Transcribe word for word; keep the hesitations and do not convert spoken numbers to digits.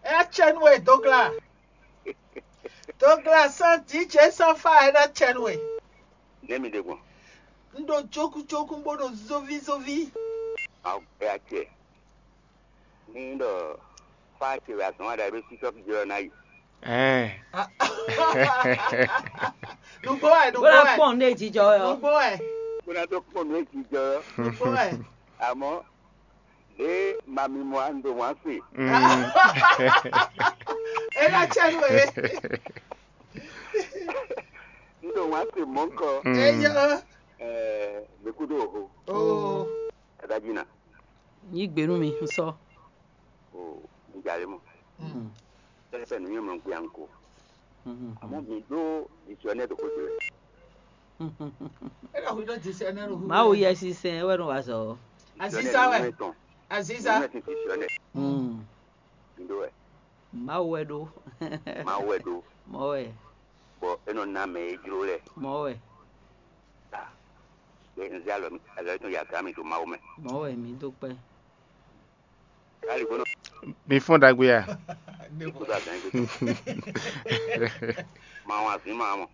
É ná cɛ nú we, Dogla. Dogla, sans D J, sans fa, é ná cɛ nú we. Nɛ́ mi ɖe gbɔn. Un ɖo jókújókú bó ɖo zóvízóví. Awu ɛ acɛ. Ní ɖɔ fá ce wɛ azɔn wa ɖagbe sísɔ fi jɔ ná yi. Ɛɛ. Nugbo wɛ, bó nugbo ná wɛ, kpɔn ní èjì jɔ ɔ. nugbo wɛ, Kó ná tó kpɔn nú èsì jɔ. nugbo wɛ. Àmọ́ ɖé mami mɔ à ń ɖo wọ́n á sè. Mm. É ná cɛ nú we. Ń ɖo wọ́n á sè mɔ̌kɔ. Mm. Eyɔ. Ɛɛ, mɛ kúdó òho. Oo. Adájí nà. Yí gbé nú mi, un sɔ. O, ń jalè mọ́. Tẹ́lẹ̀ fẹ́ nìyẹn mọ̀ pé à ń kó. Àmọ́ mi ɖó dictionnaire tó kó jẹ. É ná hu ɖó dictionnaire hu. Mawu yɛ sísɛn wɛ nɔ wa zɔ. Aziza wɛ. Aziza. Dictionnaire. Mi ɖó wɛ. Mawu wɛ ɖó. Mawu wɛ ɖó. Mɔ wɛ. Bɔ é nɔ ná mɛ e jló lɛ. Mɔ wɛ. Bɛ n zé alɔ mi alɔ tɔn yi aga mi to Mawu mɛ. Mɔ wɛ mi dó kpɛ. Kali gbɔnɔ Mi fɔn ɖagbe ya. kó dó azan yi. Mawu azin ma mɔ.